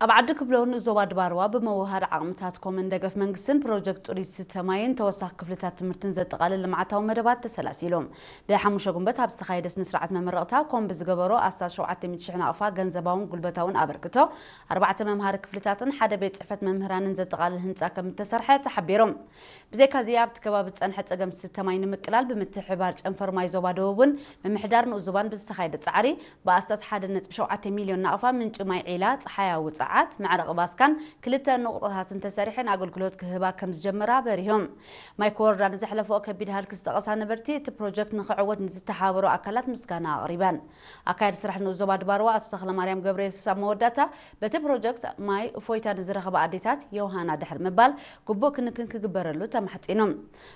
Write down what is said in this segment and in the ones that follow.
ኣብ ዓዲ ክብሎ ንዞባ ድባርዋ ብምውሃድ ዓቕምታት ኮመን ደገፍ መንግስትን ፕሮጀክት ጥሪት ዝስተ ማይን ተወሳኺ ክፍልታት ትምህርትን ዘጠቓልል ልምዓታዊ መደባት ተሰላሲሉ። ብሓሙሽተ ጉንበት ኣብ ዝተኻየደ ስነ ስርዓት መመረቕታ ኮም ብዝገበሮ ኣስታት ሸውዓተ ሚእቲ ሽሕ ናቕፋ ገንዘባውን ጉልበታውን ኣበርክቶ ኣርባዕተ መምሃሪ ክፍልታትን ሓደ ቤት ጽሕፈት መምህራንን ዘጠቓልል ህንፃ ከም እተሰርሐ ተሓቢሩ። ብዘይካዚ ኣብቲ ከባቢ ዝፀንሐ ፀገም ዝስተ ማይ ንምቅላል ብምትሕብባር ጨንፈር ማይ ዞባ ደቡብን ምምሕዳር ንኡስ ዞባን ብዝተኻየደ ፃዕሪ ብኣስታት ሓደ ነጥቢ ሸውዓተ ሚልዮን ናቕፋ ምንጪ ማይ ዒላ ፀሓያዊ ፀዓት መዕረቒ ባስካን ክልተ ንቑጣታትን ተሰሪሐን ኣገልግሎት ክህባ ከም ዝጀመራ በሪሆም። ማይ ኮወርዳ ንዘሕለፈኦ ከቢድ ሃልኪ ዝጠቐሳ ነበርቲ እቲ ፕሮጀክት ንክዕወት ንዝተሓባበሩ ኣካላት ምስጋና ኣቕሪበን። ኣካያዲ ስራሕ ንኡስ ዞባ ድባርዋ ኣቶ ተኽለማርያም ገብረየሱስ ኣብ መወዳእታ በቲ ፕሮጀክት ማይ እፎይታ ንዝረኸባ ኣዴታት ዮሃና ድሕሪ ምባል ግቡእ ክንክን ክግበረሉ ተማሕጺኑ።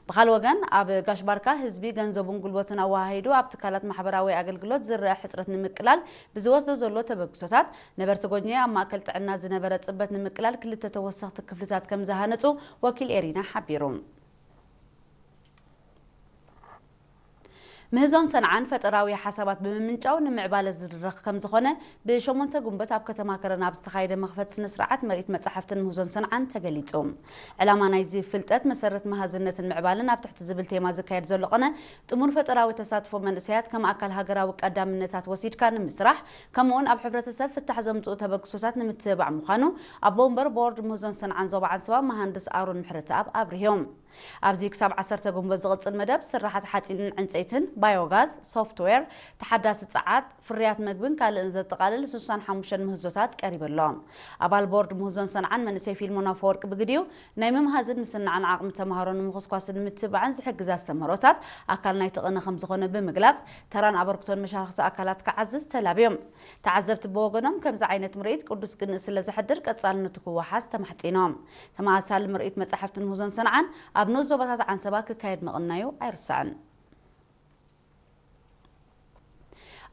ብኻልእ ወገን ኣብ ጋሽ ባርካ ህዝቢ ገንዘቡን ጉልበቱን ኣወሃሂዱ ኣብ ትካላት ማሕበራዊ ኣገልግሎት ዝረአ ሕጽረት ንምቅላል ብዝወስዶ ዘሎ ተበግሶታት ነበርቲ ጎጅኒ ኣብ ማእከል ጥዕና ዝነበረ ጽበት ንምቅላል ክልተ ተወሰኽቲ ክፍልታት ከም ዝሃነጹ ወኪል ኤሪና ሓቢሩ። ምህዞን ሰንዓን ፈጠራዊ ሓሳባት ብምምንጫው ንምዕባለ ዝድረኽ ከም ዝኾነ ብሸሞንተ ጉንበት ኣብ ከተማ ከረን ኣብ ዝተኻየደ መኽፈቲ ስነ ስርዓት ምርኢት መጻሕፍትን ምህዞን ሰንዓን ተገሊጹ። ዕላማ ናይዚ ፍልጠት መሰረት መሃዝነትን ምዕባልን ኣብ ትሕቲ ዝብል ቴማ ዝካየድ ዘሎ ቅነ ጥሙር ፈጠራዊ ተሳትፎ መንእሰያት ከም ኣካል ሃገራዊ ቀዳምነታት ወሲድካ ንምስራሕ ከምኡውን ኣብ ሕብረተሰብ ፍታሕ ዘምጽኡ ተበግሶታት ንምትብባዕ ምዃኑ ኣቦ ወንበር ቦርድ ምህዞን ሰንዓን ዞባ ዓንሰባ መሃንድስ ኣሮን ምሕረተኣብ ኣብሪሆም። ኣብዚ ክሳብ ዓሰርተ ጉንበት ዝቕጽል መደብ ስራሓት ሓጺንን ዕንጸይትን፣ ባዮጋዝ፣ ሶፍትዌር፣ ተሓዳሲ ጸዓት፣ ፍርያት መግብን ካልእን ዘጠቓልል ስሳን ሓሙሽተን ምህዞታት ቀሪበሎም። ኣባል ቦርድ ምህዞን ሰንዓን መንእሰይ ፊልሞን ኣፈወርቂ ብግዲኡ ናይ ምምሃዝን ምስናዕን ዓቕሚ ተምሃሮ ንምኹስኳስን ንምትብባዕን ዝሕግዝ ኣስተምህሮታት ኣካል ናይቲ ቅነ ከም ዝኾነ ብምግላጽ ተራን ኣበርክቶን መሻርክቲ ኣካላት ክዓዝዝ ተላብዮም። ተዓዘብቲ ብወገኖም ከምዚ ዓይነት ምርኢት ቅዱስ ቅንእ ስለ ዘሕድር ቀጻልነቱ ክወሓስ ተማሕጺኖም። ተመሳሳሊ ምርኢት መጻሕፍትን ምህዞን ሰንዓን ኣብ ንኡስ ዞባታት ዓንሰባ ክካየድ ምቕናዩ ኣይርሳዕን።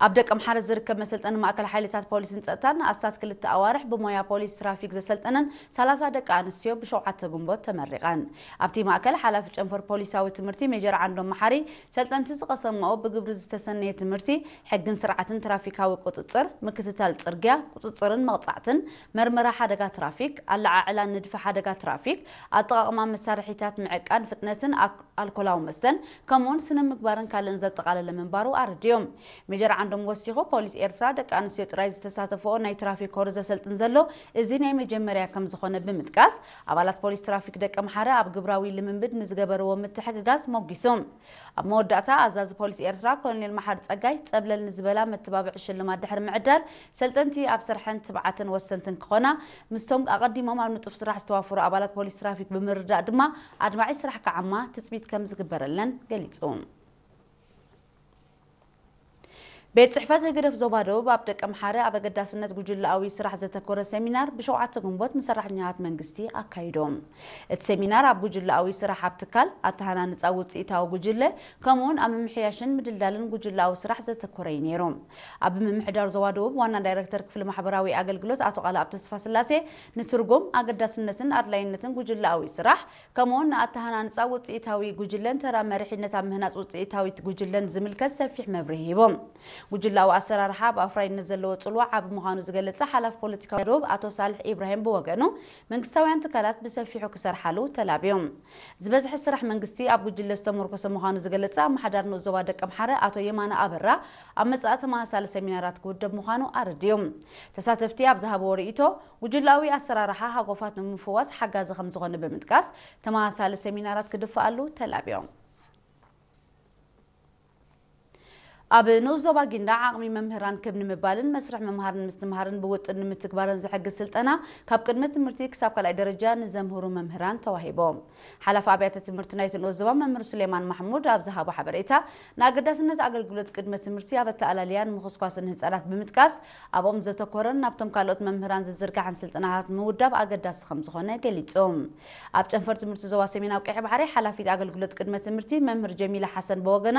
ኣብ ደቀምሓረ ዝርከብ መሰልጠኒ ማእከል ሓይልታት ፖሊስን ጸጥታን ንኣስታት ክልተ ኣዋርሕ ብሞያ ፖሊስ ትራፊክ ዘሰልጠነን ሰላሳ ደቂ ኣንስትዮ ብሸውዓተ ጉንቦት ተመሪቐን። ኣብቲ ማእከል ሓላፊ ጨንፈር ፖሊሳዊ ትምህርቲ ሜጀር ዓንዶም መሓሪ ሰልጠንቲ ዝቐሰምኦ ብግብሪ ዝተሰነየ ትምህርቲ ሕግን ስርዓትን ትራፊካዊ ቁጽጽር፣ ምክትታል ጽርግያ፣ ቁጽጽርን መቕጻዕትን፣ መርመራ ሓደጋ ትራፊክ፣ ኣለዓዕላ ንድፊ ሓደጋ ትራፊክ፣ ኣጠቓቕማ መሳርሒታት ምዕቃን ፍጥነትን ኣክ-፣ ኣልኮላዊ መስተን፣ ከምኡውን ስነ ምግባርን ካልእን ዘጠቓለለ ምንባሩ ኣረዲኦም። ሜጀር ዓንዶም ወሲኹ፣ ፖሊስ ኤርትራ ደቂ ኣንስትዮ ጥራይ ዝተሳተፈኦ ናይ ትራፊክ ኮርስ ዘሰልጥን ዘሎ እዚ ናይ መጀመርያ ከም ዝኾነ ብምጥቃስ፣ ኣባላት ፖሊስ ትራፊክ ደቂ ኣምሓረ ኣብ ግብራዊ ልምምድ ንዝገበርዎ ምትሕግጋዝ ሞጊሶም። ኣብ መወዳእታ ኣዛዚ ፖሊስ ኤርትራ ኮሎኔል መሓሪ ጸጋይ ጸብለል ንዝበላ መተባብዒ ሽልማት ድሕሪ ምዕዳል፣ ሰልጠንቲ ኣብ ስርሐን ትብዓትን ወሰንትን ክኾና፣ ምስቶም ኣቐዲሞም ኣብ ንጡፍ ስራሕ ዝተዋፈሩ ኣባላት ፖሊስ ትራፊክ ብምርዳእ ድማ ኣድማዒ ስራሕ ክዓማ ትጽቢት ከም ዝግበረለን ገሊጹ። ቤት ጽሕፈት ህግደፍ ዞባ ደቡብ ኣብ ደቀምሓረ ኣብ ኣገዳስነት ጉጅለኣዊ ስራሕ ዘተኮረ ሰሚናር ብሸውዓተ ግንቦት ንሰራሕተኛታት መንግስቲ ኣካይዶም። እቲ ሰሚናር ኣብ ጉጅለኣዊ ስራሕ ኣብ ትካል፣ ኣተሃናንጻ ውጽኢታዊ ጉጅለ፣ ከምኡውን ኣብ ምምሕያሽን ምድልዳልን ጉጅለኣዊ ስራሕ ዘተኮረ እዩ ነይሩ። ኣብ ምምሕዳር ዞባ ደቡብ ዋና ዳይረክተር ክፍሊ ማሕበራዊ ኣገልግሎት ኣቶ ቃልኣብ ተስፋስላሴ ንትርጉም፣ ኣገዳስነትን ኣድላይነትን ጉጅለኣዊ ስራሕ፣ ከምኡውን ንኣተሃናንጻ ውጽኢታዊ ጉጅለን ተራ መሪሕነት ኣብ ምህናጽ ውጽኢታዊት ጉጅለን ዝምልከት ሰፊሕ መብርሂ ሂቦም። ጉጅላዊ ኣሰራርሓ ኣብ ኣፍራይነት ዘለዎ ጽልዋ ዓቢ ምዃኑ ዝገለጸ ሓላፊ ፖለቲካዊ ደቡብ ኣቶ ሳልሕ ኢብራሂም ብወገኑ፣ መንግስታውያን ትካላት ብሰፊሑ ክሰርሓሉ ተላብዮም። ዝበዝሐ ስራሕ መንግስቲ ኣብ ጉጅለ ዝተመርኮሰ ምዃኑ ዝገለጸ ኣመሓዳሪ ንኡስ ዞባ ደቀምሓረ ኣቶ የማነ ኣበራ፣ ኣብ መጻኢ ተመሳሳሊ ሰሚናራት ክውደብ ምዃኑ ኣረዲዮም። ተሳተፍቲ ኣብ ዝሃብዎ ርእይቶ፣ ጉጅላዊ ኣሰራርሓ ሃጎፋት ንምፍዋስ ሓጋዚ ከም ዝኾነ ብምጥቃስ፣ ተመሳሳሊ ሰሚናራት ክድፍኣሉ ተላብዮም። ኣብ ንኡስ ዞባ ጊንዳዕ ዓቕሚ መምህራን ክብ ንምባልን መስርሕ ምምሃርን ምስትምሃርን ብውጥን ንምትግባርን ዝሕግዝ ስልጠና ካብ ቅድመ ትምህርቲ ክሳብ ካልኣይ ደረጃ ንዘምህሩ መምህራን ተዋሂቦም። ሓላፊ ኣብያተ ትምህርቲ ናይቲ ንኡስ ዞባ መምህር ሱሌማን ማሕሙድ ኣብ ዝሃቦ ሓበሬታ፣ ንኣገዳስነት ኣገልግሎት ቅድመ ትምህርቲ ኣብ ኣተኣላልያን ምኹስኳስን ህጻናት ብምጥቃስ፣ ኣብኦም ዘተኮረን ናብቶም ካልኦት መምህራን ዝዝርጋሕን ስልጠናታት ምውዳብ ኣገዳሲ ከም ዝኾነ ገሊጹ። ኣብ ጨንፈር ትምህርቲ ዞባ ሰሜናዊ ቀይሕ ባሕሪ ሓላፊት ኣገልግሎት ቅድመ ትምህርቲ መምህር ጀሚላ ሓሰን ብወገና፣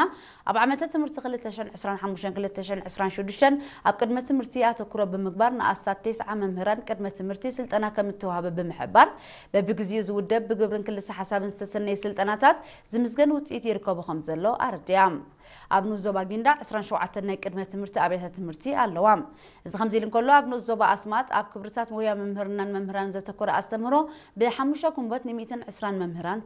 ኣብ ዓመተ ትምህርቲ ክልተ ዕስራን ሓሙሽተን ክልተ ሽሕን ዕስራን ሽዱሽተን ኣብ ቅድመ ትምህርቲ ኣተኩሮ ብምግባር ንኣስታት ተስዓ መምህራን ቅድመ ትምህርቲ ስልጠና ከም እተዋህበ ብምሕባር፣ በብግዜኡ ዝውደብ ብግብርን ክልሰ ሓሳብን ዝተሰነየ ስልጠናታት ዝምዝገን ውፅኢት ይርከቦ ከም ዘሎ ኣረዲኣ። ኣብ ንኡስ ዞባ ጊንዳዕ ዕስራን ሸውዓተን ናይ ቅድመ ትምህርቲ ኣብያተ ትምህርቲ ኣለዋ። እዚ ከምዚ ኢሉ እንከሎ፣ ኣብ ንኡስ ዞባ ኣስማጥ ኣብ ክብርታት ሞያ ምምህርናን መምህራን ዘተኮረ ኣስተምህሮ ብሓሙሽተ ኩንበት ን ሚእትን ዕስራን መምህራን